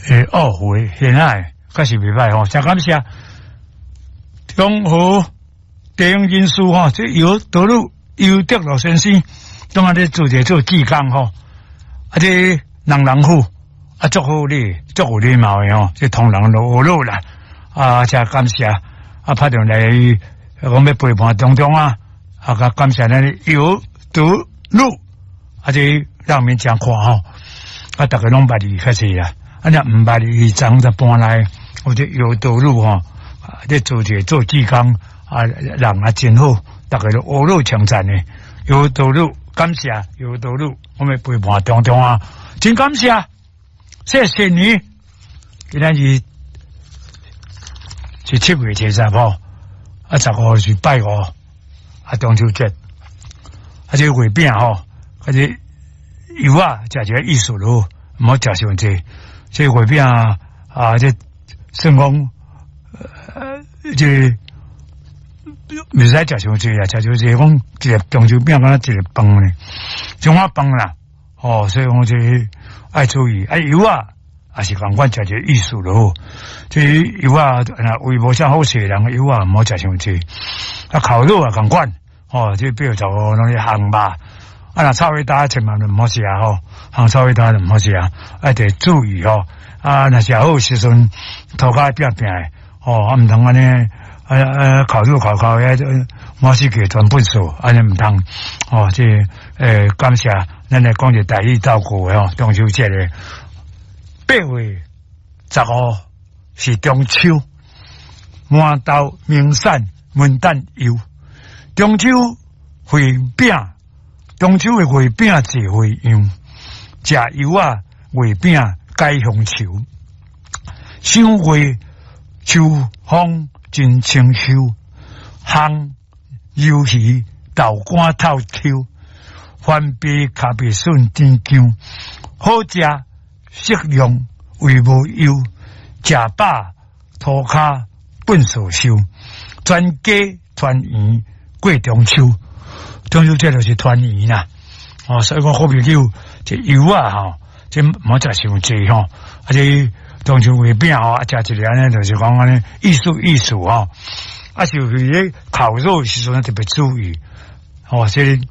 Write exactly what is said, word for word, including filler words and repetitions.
欸，懊悔，現在確實袂歹吼，誠感謝。中和地方人士吼，這游德魯游德魯先生，當下咧做一個做志工吼，啊，這人人好，啊，足好禮，足有禮貌的吼，這同人都學樂啦，啊，誠感謝，啊，拍電話來講欲陪伴中中啊，啊，較感謝咱游德魯，啊，這讓民誠看吼，啊，逐家攏捌伊較濟啦，啊，若毋捌伊，昨才搬來，或者游德魯吼。咧做一個做志工啊，人啊真好，逐家都呵咾稱讚的。有道路感謝，有道路，我們陪伴中中啊，真感謝，謝謝你。今仔日是七月初三吼，啊十五是拜五，啊中秋節，啊這個月餅吼，啊這油仔食一個意思咯，毋好食傷濟。這個月餅啊，這算講。呃，這袂使食傷濟啊，食傷濟講一個中秋餅敢若一个飯呢，種仔飯啦，哦，所以講這愛注意，啊油仔也是仝款食一個意思咯。這油仔若胃無啥好勢的人，油仔毋好食傷濟。啊，烤肉也仝款，哦，這八月十五攏是烘肉，啊，若臭味焦千萬就毋好食吼，烘臭味焦就毋好食，愛得注意吼。啊，若食好時陣，塗跤拚拚的。哦，啊，毋通按呢，啊啊，烤肉烤烤，遐滿世界全糞掃，按呢毋通。哦，這欸，感謝咱來講一個台語造句的吼，中秋節的八月十五是中秋，饃頭明散文旦柚，中秋月餅，中秋的月餅濟花樣，食油仔月餅解鄉愁，賞月。秋風真清秀，烘魷魚豆乾透抽，番麥跤麥筍甜薑，好食適量胃無憂，食飽塗跤糞掃收，全家團圓過中秋，中秋節就是團圓啦。哦，所以講好朋友這油仔吼，這毋好食傷濟吼，啊這。中秋月餅吼，啊，食一个按呢，就是講按呢，意思意思吼，啊，是咧烤肉的時陣特別注意，吼，這個